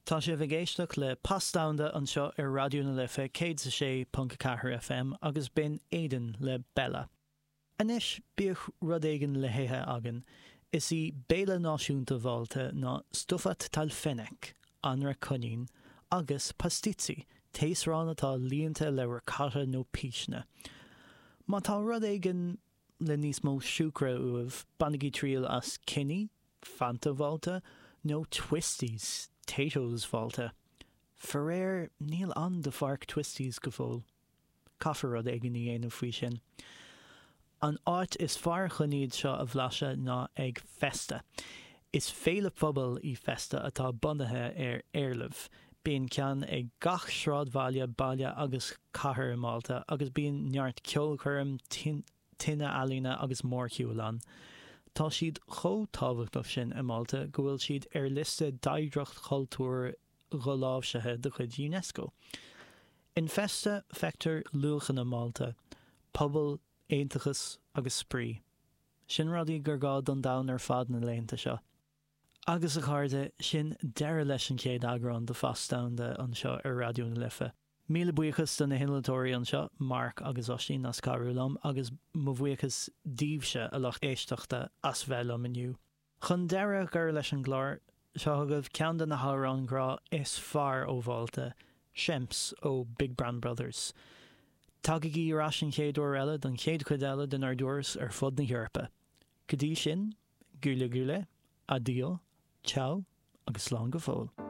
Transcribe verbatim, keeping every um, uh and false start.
Tá sibh ag éisteacht le Pas Domhanda anseo ar Raidió na Life céad a sé ponc a ceathair FM agus b'in Aidan le Bella. Anois bíodh rud éigin le hithe againn. Is í béile náisiúnta Mhálta ná stufat tal-fenek, anraith coinín, agus pastizzi, taosrán atá líonta le ricotta nó píseanna. Má tá rud éigin le níos mó siúcra uaibh, bainigí triail as Kinnie, Fanta Mhálta, nó Twisties, Taytos Mhálta. Faraor, níl ann do pháirc Twisties go fóill. Caithfear rud éigin a dhéanamh faoi sin. An áit is fearr chun iad seo a bhlaiseadh ná ag Festa. Is féile phobail í Festa atá bunaithe ar éileamh. Bíonn ceann ag gach sráidbhaile, baile agus cathair i Málta agus bíonn neart ceolchoirm, tine ealaíne agus mórshiúil ann. Tá siad chomh tábhachtach sin i Málta go bhfuil siad ar liosta d'oidhreacht chultúir dholáimhsithe de chuid UNESCO. In Festa feictear luachanna Málta, pobal, aontachas agus spraoi. Sin rudaí gur gá don domhan ar fad na laethanta seo. Agus a chairde, sin deireadh leis an chéad eagrán de Phas Domhanda anseo ar Raidió na Life. Míle buíochas do na hinnealtóirí anseo, Mark agus Oisín as cabhrú liom agus mo bhuíochas daoibhse a lucht éisteachta as bheith liom inniu. Chun deireadh a chur leis an gclár, seo chugaibh ceann de na hamhráin ghrá is fearr ó Mhálta, Xemps ó Big Brown Brothers. Tagaigí ar ais an chéad uair eile don chéad chuid eile denár dturas ar fud na hEorpa. Go dtí sin, gula gula, addio, ciao agus slán go fóill.